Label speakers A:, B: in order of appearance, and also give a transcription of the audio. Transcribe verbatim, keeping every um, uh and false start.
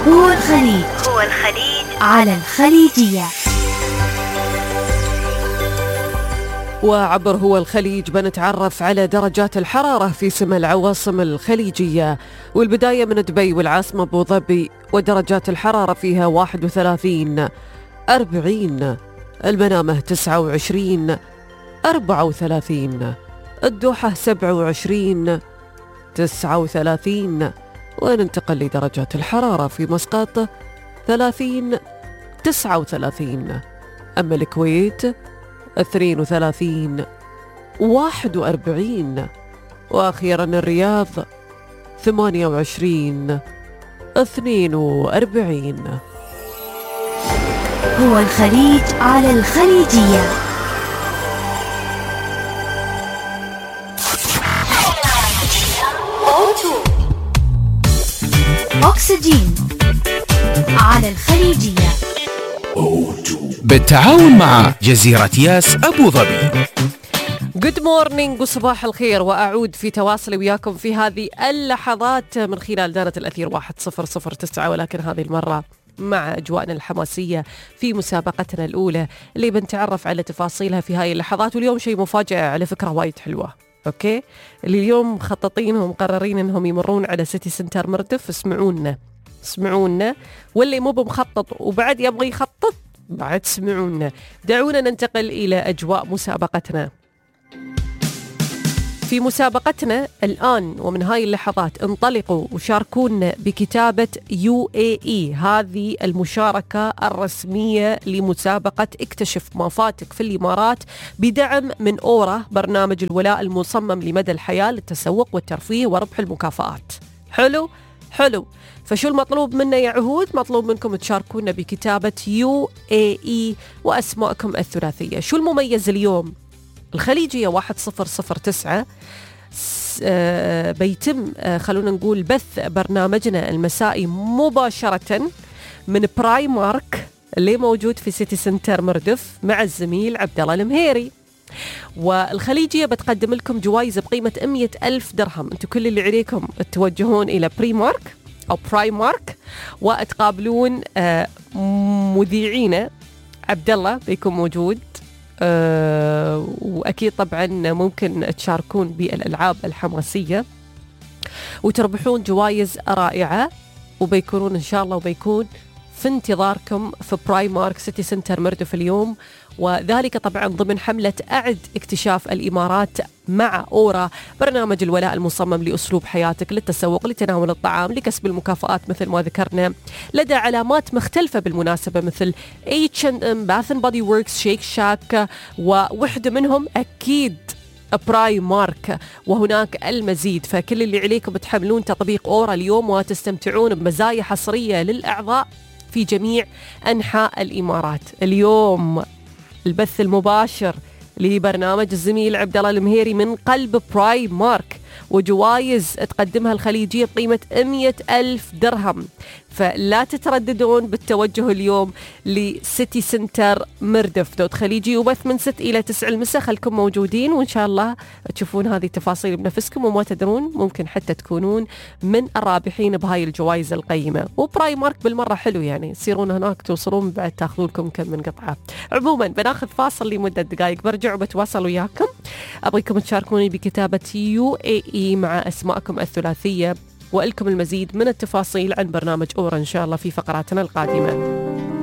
A: هو الخليج هو الخليج على الخليجية.
B: وعبر هو الخليج بنتعرف على درجات الحرارة في سما العواصم الخليجية، والبداية من دبي والعاصمة أبو ظبي، ودرجات الحرارة فيها واحد وثلاثين أربعين، المنامة تسعة وعشرين أربعة وثلاثين، الدوحة سبعة وعشرين تسعة وثلاثين، وننتقل لدرجات الحرارة في مسقط ثلاثين تسعة وثلاثين، أما الكويت اثنين وثلاثين واحد وأربعين، وأخيرا الرياض ثمانية وعشرين اثنين وأربعين.
A: هو الخليج على الخليجية. أكسجين على الخليجية
C: بالتعاون مع جزيرة ياس أبو ظبي.
B: Good morning وصباح الخير، وأعود في تواصلي وياكم في هذه اللحظات من خلال دارة الأثير واحد صفر صفر تسعة، ولكن هذه المرة مع أجواءنا الحماسية في مسابقتنا الأولى اللي بنتعرف على تفاصيلها في هاي اللحظات. واليوم شيء مفاجأة على فكرة وايد حلوة، أوكي؟ اللي اليوم مخططين ومقررين أنهم يمرون على سيتي سنتر مردف. اسمعونا اسمعونا، واللي مو بمخطط وبعد يبغى يخطط بعد سمعونا. دعونا ننتقل إلى أجواء مسابقتنا. في مسابقتنا الآن ومن هاي اللحظات انطلقوا وشاركونا بكتابة يو إيه إي، هذه المشاركة الرسمية لمسابقة اكتشف ما فاتك في الإمارات بدعم من أورا، برنامج الولاء المصمم لمدى الحياة للتسوق والترفيه وربح المكافآت. حلو حلو. فشو المطلوب منا يا عهود؟ مطلوب منكم تشاركونا بكتابة يو إيه إي وأسماءكم الثلاثية. شو المميز اليوم؟ الخليجية واحد صفر صفر تسعة بيتم خلونا نقول بث برنامجنا المسائي مباشرة من براي مارك اللي موجود في سيتي سنتر مردف مع الزميل عبد الله المهيري. والخليجية بتقدم لكم جوائز بقيمة مئة ألف درهم. انتم كل اللي عليكم توجهون إلى بري مارك أو براي مارك وتقابلون مذيعينا عبد الله بيكون موجود. أه وأكيد طبعا ممكن تشاركون بالألعاب الحماسية وتربحون جوائز رائعة، وبيكونون إن شاء الله وبيكون في انتظاركم في براي مارك سيتي سنتر مردف اليوم، وذلك طبعا ضمن حملة أعد اكتشاف الإمارات مع أورا، برنامج الولاء المصمم لأسلوب حياتك للتسوق لتناول الطعام لكسب المكافآت مثل ما ذكرنا لدى علامات مختلفة بالمناسبة مثل إتش أند إم، باث أند بودي ووركس، شيك شاك، ووحدة منهم أكيد براي مارك، وهناك المزيد. فكل اللي عليكم بتحملون تطبيق أورا اليوم وتستمتعون بمزايا حصرية للأعضاء في جميع أنحاء الإمارات. اليوم البث المباشر لبرنامج الزميل عبد الله المهيري من قلب براي مارك، وجوائز تقدمها الخليجية بقيمة مئة ألف درهم. فلا تترددون بالتوجه اليوم لسيتي سنتر مردف دوت خليجي، وبث من ست إلى تسع المساء. خلكم موجودين وإن شاء الله تشوفون هذه التفاصيل بنفسكم، وما تدرون ممكن حتى تكونون من الرابحين بهاي الجوائز القيمة. وبراي مارك بالمرة حلو، يعني تصيرون هناك توصلون بعد تاخذون لكم كم من قطعة. عموما بناخذ فاصل لمدة دقائق، برجع وبتواصل وياكم. أبغيكم تشاركوني بكتابة يو إيه إي مع أسماءكم الثلاثية، وإلكم المزيد من التفاصيل عن برنامج أورا إن شاء الله في فقراتنا القادمة.